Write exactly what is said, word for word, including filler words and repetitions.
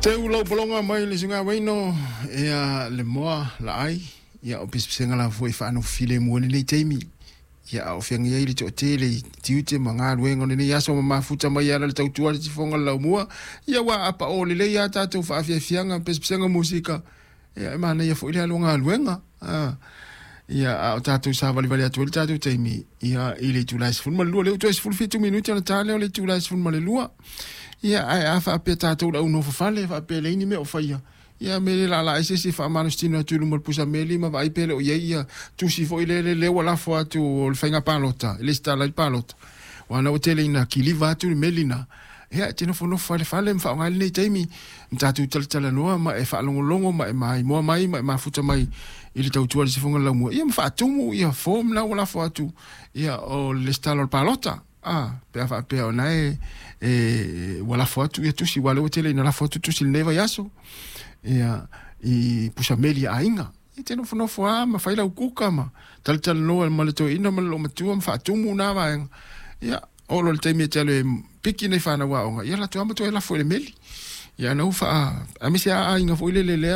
Teu lau pologa mai le suga waino ia le moa la ai ia o pispisega la foi whaano file mua lenei taimi ia o feagai ai le toatele i tiute ma galuega o lenei aso ma mafuta mai ala le tautua le tifoga le laumua ia ua apaʻo lelei a tatou faafiafiaga pesepesega musika ia e manaia foi le alu galuega a ia a o tatou savalivali atu ai le tatou taimi ia i le itula e sefulu ma le lua lea ua toe sefulu fitu minute ona ta lea o le itula e sefulu ma le lua ia ae a faapea tatou le au nofofale faapea leai ni mea o faia ia me le laalaa ai se isi faamalositino atu i luma o le pusameli ma vaai pe le o i ai ia tusi foi lele lea ua lafo atu o le faiga palota e lesitala ai le palota ua na ua tele ina kiliva atu le meli na ia e te nofonofo ai le fale ma faaaoga ai lenei taimi ma tatou talatalanoa ma e faalogologo ma e maimoa mai ma e mafuta mai i le tautua le sifoga le laumua ia ma faatumu ia form na ua lafo atu ia o le lesitala o le palota a pe a faapea ona e e ua lafo atu ia tusi ua lea ua tele ina lafo atu tusi lenei vaiaso ia i pusameli a aiga e te nofonofo a ma fai lau kuka ma talatalanoa ma le toeaina ma le loomatua ma faatumu na vaega ia oo loa le taimi e te alu e piki nei fanau aoga ia latou lava ma toe lafo i le meli ia na ua faa aemaise a aiga foi lele lea.